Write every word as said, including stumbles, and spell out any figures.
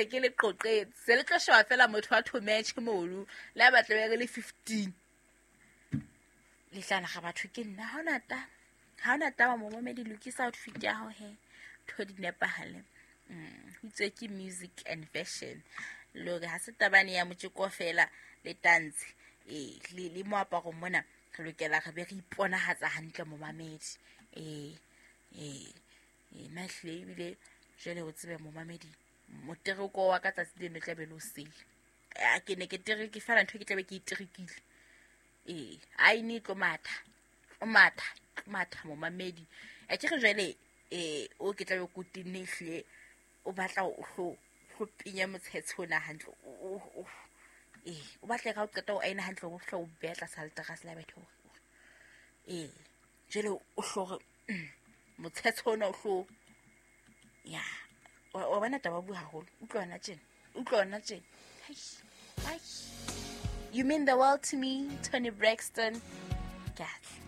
se ke le qoqetse se le tlo sheba fela motho wa thometšhe mono le a batla be re le fifteen le tla naga batho ke nna ha ona taba ha ona taba momamedi lokisa outfit ya hao he ntho di nepahale. Mm, ho itswe ke music and fashion le hore ha se tabane ya motjeko fela le tantshe ee le le moaparong mona re lokela re be re iponahatsa hantle momamedi. Ee ee ee nna ehlile ebile jwale o tsebe momamedi motereko wa ka tsatsi leno tla be le o sele. A ke ne ke tereke fela ntho e ke tlabe ke e terekile. Ee aene e tlo matha tlo matha tlo matha momamedi. Akere jwale eh o ke tlabe ko tenne ehlile o batla o hlo hlo penya motshetshe ona hantle o o ee o batla ka o qeta o aena hantle o hlo o beha tlasa leterase la bethe hore ee jwale o hlo re motshetshe ona o hlo ya wa wa bona taba bua haholo utlwa hona tjena utlwa hona tjena. Hai hai, you mean the world to me, Toni Braxton. Ke a tla.